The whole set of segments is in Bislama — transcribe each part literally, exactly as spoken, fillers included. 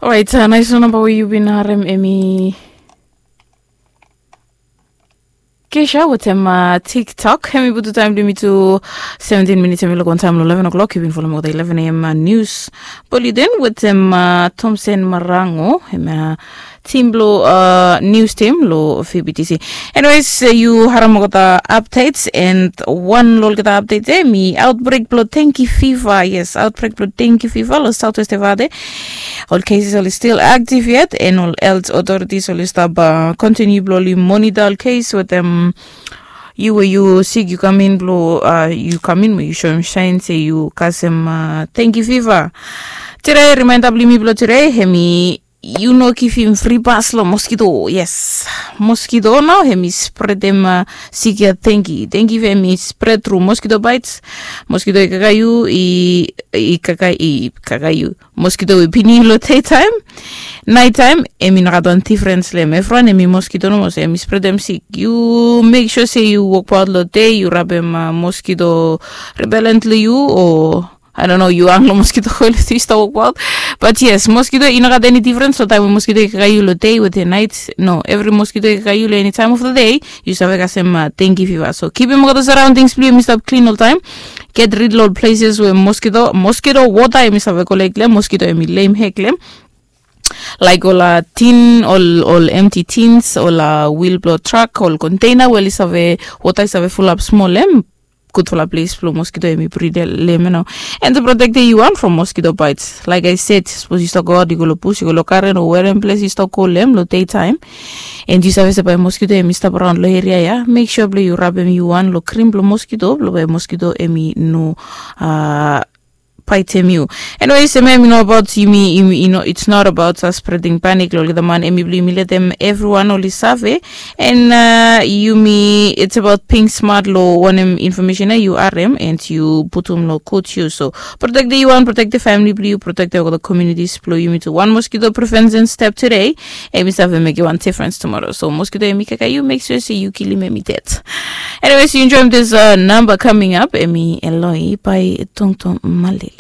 Orait, nais nao namba we yu bin harem emi kesha wetem tiktok, emi putu taem blong yumi tu seventin minits emi luk wantaem long eleven o'clock. Yu bin folom olgeta eleven a.m. Nius boliden wetem tomsen marango, emi tim blong nius tim long fbtc. Anyways, yu harem olgeta updates and wan long olgeta updates emi outbreak blong dengi fiva. Yes, outbreak blong dengi fiva long southwest evade. Ol cases oli stil aktiv yet and ol health authorities oli stap kontiniu blong oli monita ol case wetem yu we yu sik yu kam in blong yu kam in mo yu soem saen se yu kasem dengi fiva. Tire rimaenda blong yumi blong tire emi yu no givim fri bas long moskito. Yes, moskito nao emi spredem sik ya dengi dengi we emi spred tru moskito baits. Moskito i kaka yu i kaka i kaka yu. Moskito we pini yu long dei taem, naet taem emi no gat wan difrens long em. Evriwan emi moskito nomo so emi spredem sik. Yu mek sua se yu wokbaot long dei yu rabem moskito repelent long yu o, I don't know, yu ang long moskito koel we yu stap wokbaot. Bat yes, moskito i no gat eni difrens long taem we moskito i kaka yu long dei wetem naet. No, evri moskito i kaka yu long eni taem of the day. Yu save kasem dengi fiva. So kipim olgeta saraondings blong yu emi stap klin oltaem. Get rid long ol places we moskito moskito wota emi save kolek long em. Moskito emi lem hek long em, laek ol tin, ol ol emti tins, ol wil blong trak, ol konteina we oli save, wota i save fulap smol long em. Gudfala ples blong moskito emi brid long em ya nao. And to protektem yu wan from moskito baits, laek ai sed sapos yu stap goaot yu go long bus yu go long garen o werem ples yu stap go long em long dei taem, and yu save se bae moskito emi stap raon long eria ya, mek sua blong yu rabem yu wan long krim blong moskito blong bae moskito emi no a baitem yu. Anyways, em ya emi no abaot yumi, yumi yu no, it's not about spreding panik long olgeta man, emi blong yumi letem evriwan oli save. And yumi, it's about being smart long wanem infomesen ya yu harem and yu putum long gud yus. So protektem yu wan, protektem famili blong yu, protektem olgeta communities blong yumi tu. Wan moskito prevention step tede emi save mekem wan difrens tumoro. So moskito emi kaka yu, mek sua se yu kilim emi ded. Anyways, yu enjoem this namba coming up, emi eloi bae tongtong malili.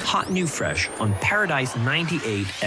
Hot new fresh on Paradise ninety-eight.